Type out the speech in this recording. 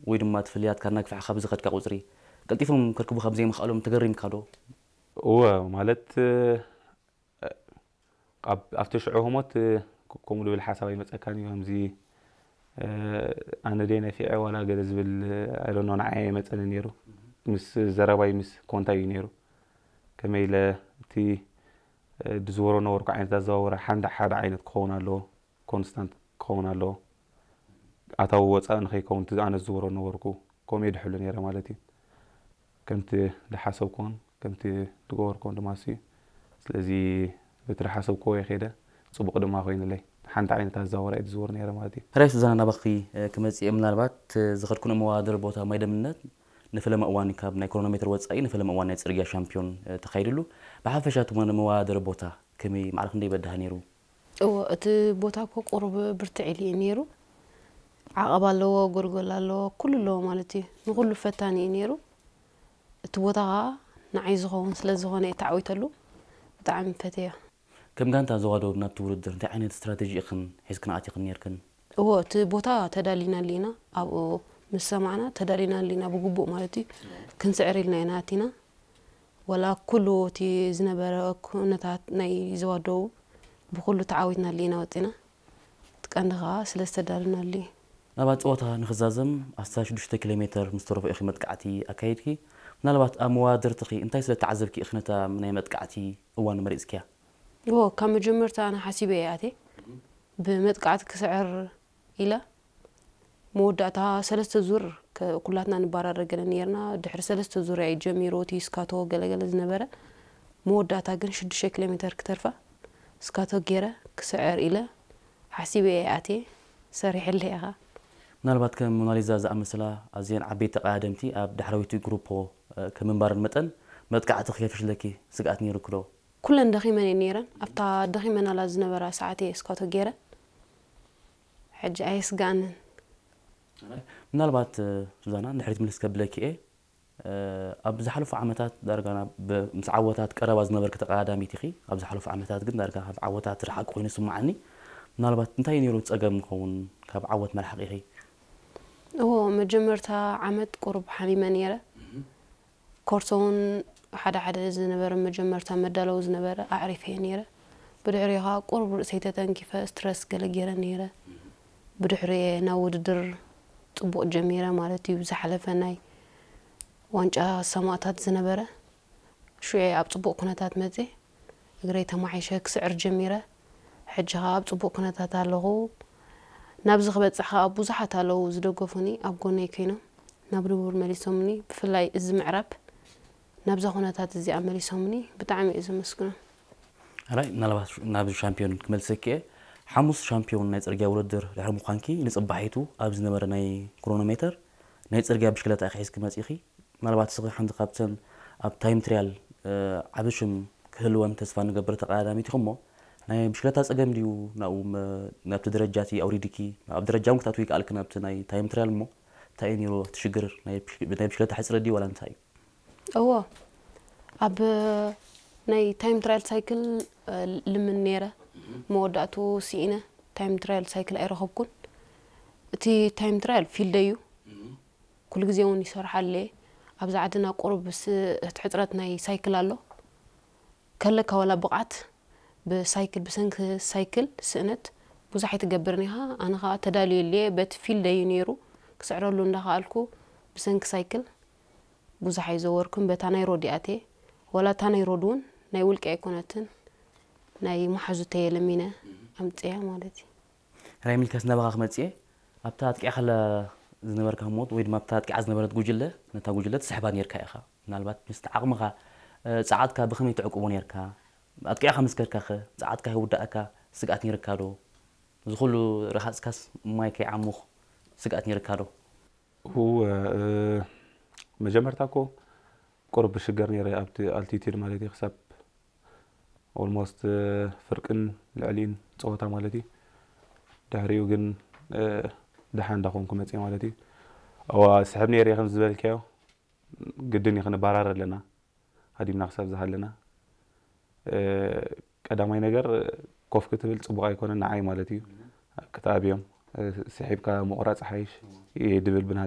ወይ ድማ እቲ ፍልልያትካ እናግፍሐኻ ብዝኸድካ ቁፅሪ ቀልጢፎም ከርክቡኻ ብዘይምኽኣሎም ተገሪምካ ዶ? እወ፣ ማለት ኣብ ኣብቲ ሽዑ ህሞት ከምኡ ዝብል ሓሳብ ኣይመፀካን እዩ። ከምዚ ኣነ ደይ ነፊዐ ዋላ ገለ ዝብል ኣይደኖ ንዓይ ኣይመፀኒ ነይሩ። ምስ ዘረባይ ምስ ኮንታይ እዩ ነይሩ። ከመይ ኢለ እቲ ዝዝወሮ ነበርኩ ዓይነት ኣዘዋውራ ሓንዳ ሓደ ዓይነት ክኸውን ኣለዎ፣ ኮንስታንት ክኸውን ኣለዎ። ኣታዊ ወፃኢ ንኸይከውን እቲ ኣነ ዝዝወሮ ነበርኩ ከምኡ እየ ድሕሉ ነይረ ማለት እዩ። ከምቲ ዝሓሰብኩዎን ከምቲ ዝገበርኩዎን ድማ እሱ እዩ። ስለዚ በቲ ዝሓሰብኩዎ እየ ከይደ፣ ፅቡቕ ድማ ኮይኑለይ። ሓንቲ ዓይነት ኣዘዋውራ እየ ዝዝውር ነይረ ማለት እዩ። ሕራይ ሱዛና ናባኺ ክመፅእ እየ። ምናልባት ዝኸድኩን መወዳደሪ ቦታ ማይ ደምነት ንፈለማ እዋን ካብ ናይ ክሮኖሜትር ወፃኢ ንፈለማ እዋን ናይ ፅርግያ ሻምፒዮን ተኻይድሉ። ብሓፈሻ እቲ መወዳደሪ ቦታ ከመይ ማዕረ ክንደይ በዳህ ነይሩ? እዎ እቲ ቦታ እኮ ቁሩብ ብርትዕ ኢሉ እዩ ነይሩ። ዓቐብ ኣለዎ፣ ጎልጎል ኣለዎ፣ ኩሉ ኣለዎ ማለት እዩ። ንኹሉ ፈታኒ እዩ ነይሩ። እቲ ቦታ ኸዓ ንዓይ ዝኸውን ስለ ዝኾነ እየ ተዓዊተሉ። ብጣዕሚ ፈትየዮ። ከም ጋንታ ዞባ ደቡብ ናብቲ ውድድር እንታይ ዓይነት ስትራተጂ ኢኽን ሒዝክን ኣቲኽን ነይርክን? እዎ እቲ ቦታ ተዳሊናሉ ኢና። ኣብኡ ምስ ሰማዕና ተዳሊናሉ ኢና ብግቡእ ማለት እዩ። ክንስዕር ኢልና ኢና ኣቲና። ወላ ኩሉ እቲ ዝነበረ ኩነታት ናይ ዞባ ደቡብ ብኹሉ ተዓዊትናሉ ኢና ወፂና። እቲ ቀንዲ ከዓ ስለ ዝተዳለናሉ እዩ። ናብቲ ፀወታ ንኽዛዘም ኣስታት ሽዱሽተ ኪሎ ሜተር ምስ ተረፎ ኢኺ መጥቃዕቲ ኣካይድኪ። ምናልባት ኣብ መወዳድርትኺ እንታይ ስለ እተዓዘብኪ ኢኺ ነታ ናይ መጥቃዕቲ እዋን መሪፅክያ? እዎ፣ ካብ መጀመርታ ኣነ ሓሲበ እየ ኣትየ። ብመጥቃዕቲ ክስዕር ኢለ መወዳእታ ሰለስተ ዙር ኩላትና ንባራረ ገለ ነይርና። ድሕሪ ሰለስተ ዙር እያ ጀሚሩ እቲ ስካቶ ገለገለ ዝነበረ። መወዳእታ ግን ሽዱሽተ ኪሎ ሜተር ክተርፋ ስካቶ ገይረ ክስዕር ኢለ ሓሲበ እየ ኣትየ። ሰሪሐለይ ኢኻ። ምናልባት ከም ሞናሊዛ ዝኣመሰላ ኣዝየን ዓበይቲ ተቐዳደምቲ ኣብ ዳሕረወይቲ ግሩፖ ከም ምንባረን መጠን መጥቃዕቲ ከይፈሽለኪ ስግኣት ነይሩኪ ዶ? ኩለን ደኺመን እየን ነይረን። ኣብታ ደኺመናላ ዝነበራ ሰዓት እየ ስካቶ ገይረ። ሕጂ ኣየስግኣንን። ምናልባት ሱዛና ንድሕሪት ምልስ ከብለኪ እየ። ኣብ ዝሓለፉ ዓመታት ዳርጋ ናብ ምስ ዓወታት ቀረባ ዝነበርኪ ተቐዳዳሚት ኢኺ። ኣብ ዝሓለፉ ዓመታት ግን ዳርጋ ካብ ዓወታት ዝረሓቂ ኮይኑ ይስምዓኒ። ምናልባት እንታይ እዩ ነይሩ ጸገም ክኸውን ካብ ዓወት መርሓቂኺ? እዎ መጀመርታ ዓመት ቁሩብ ሓሚመ ነይረ። ኮርሶ እውን ሓደ ሓደ ዝነበረ መጀመርታ መዳለዊ ዝነበረ ኣዕሪፈ እየ ነይረ። ብድሕሪኡ ከዓ ቁሩብ ርእሰይ ተተንኪፈ ስትረስ ገለ ገይረ ነይረ። ብድሕሪኡ እየ ናብ ውድድር ፅቡቕ ጀሚረ ማለት እዩ። ብዝሓለፈ ናይ ዋንጫ ሰማእታት ዝነበረ ሽዑ እየ ኣብ ፅቡቕ ኩነታት መፅየ። እግረይ ተማሒሸ ክስዕር ጀሚረ። ሕጂ ከዓ ኣብ ፅቡቕ ኩነታት ኣለኹ። ናብዚ ክበፅሕ ከዓ ብዙሓት ኣለዉ ዝደገፉኒ ኣብ ጎነይ ኮይኖም ናብ ንቡር መሊሶምኒ። ብፍላይ እዚ ምዕራብ ናብዛ ኩነታት እዚኣ መሊሶምኒ ብጣዕሚ እየ ዘመስግኖም። ሕራይ ምናልባት ናብ ሻምፒዮን ክመልሰኪ እየ። ሓሙስ ሻምፒዮን ናይ ፅርግያ ውድድር ድሕሪ ምዃንኪ ንፅባሒቱ ኣብ ዝነበረ ናይ ክሮኖሜተር ናይ ፅርግያ ብሽክለታ ኢኺ ሒዝኪ መፂእኺ። ምናልባት እስኺ ሓንቲ ካብተን ኣብ ታይም ትሪያል ዓቢ ሽም ክህልወን ተስፋ ንገብር ተቐዳዳሚት ኢኺ እሞ ናይ ብሽክለታ ጸገም ድዩ ናብኡ ናብቲ ደረጃ እቲ ኣውሪድኪ ኣብ ደረጃ እውን ክትኣትዊ ይከኣልኪ ናብቲ ናይ ታይም ትሪያል እሞ እንታይ እዩ ነይሩ እቲ ሽግር ናይ ብሽክለታ ሕጽረት ድዩ ዋላ እንታይ እዩ? እዎ ኣብ ናይ ታይም ትራያል ሳይክል ልምን ነይረ መወዳእቱ ስኢነ ታይም ትራያል ሳይክል ኣይረኸብኩን። እቲ ታይም ትራያል ፊልደይ እዩ። ኩሉ ግዜ እውን ይሰርሓሉ እየ። ኣብዚ ዓድና ቁሩብ ስ- እቲ ሕፅረት ናይ ሳይክል ኣሎ። ከለካ ዋላ ብቕዓት ብሳይክል ብሰንኪ ሳይክል ስእነት ብዙሕ ኣይትገብርን ኢኻ። ኣነ ከዓ ተዳልየሉ እየ። በቲ ፊልደይ እዩ ነይሩ ክስዕረሉ እንዳኸኣልኩ ብሰንኪ ሳይክል ብዙሕ ኣይዘወርኩን። በታ ናይ ሮድ እየ ኣትየ። ዋላ እታ ናይ ሮድ እውን ናይ ውልቂ ኣይኮነትን ናይ መሓዙተይ እየ ለሚነ ኣምፅያ ማለት እዩ። ራይሚልከስ ናባኻ ክመፅእ እየ። ኣብታ ኣጥቂዕካላ ዝነበርካ ህሞት ወይ ድማ ኣብታ ኣጥቂዓ ዝነበረት ጉጅለ ነታ ጉጅለ ትስሕባ ነይርካ ኢኻ። ምናልባት ምስቲ ዓቕምኻ ፃዓትካ ብኸመይ ትዕቅቦ ነይርካ? ኣጥቂዕካ ምስ ከድካኸ ፃዓትካ ከይውዳእካ ስግኣት ነይርካ ዶ? እዚ ኩሉ ረሃፅካስ ማይ ከይዓሙኽ ስግኣት ነይርካ ዶ? እወ መጀመርታ እኮ ቁሩብ ብሽገር ነይረ ኣብቲ ኣልቲቲድ ማለት እዩ ክሳብ ኦልሞስት ፍርቅን ልዕሊን ፀወታ ማለት እዩ። ድሕሪኡ ግን ደሓን እንዳኾንኩ መፅየ ማለት እዩ። እዋ ስሕብ ነይረ ከም ዝበልካዮ ግድን እዩ ክንበራር ኣለና ሃዲምና ክሳብ ዝሃለና። ቀዳማይ ነገር ኮፍ ክትብል ፅቡቕ ኣይኮነን ንዓይ ማለት እዩ። ክትኣብዮም ስሒብካ ምቑራፅ ሓይሽ እየ ድብል ብናተ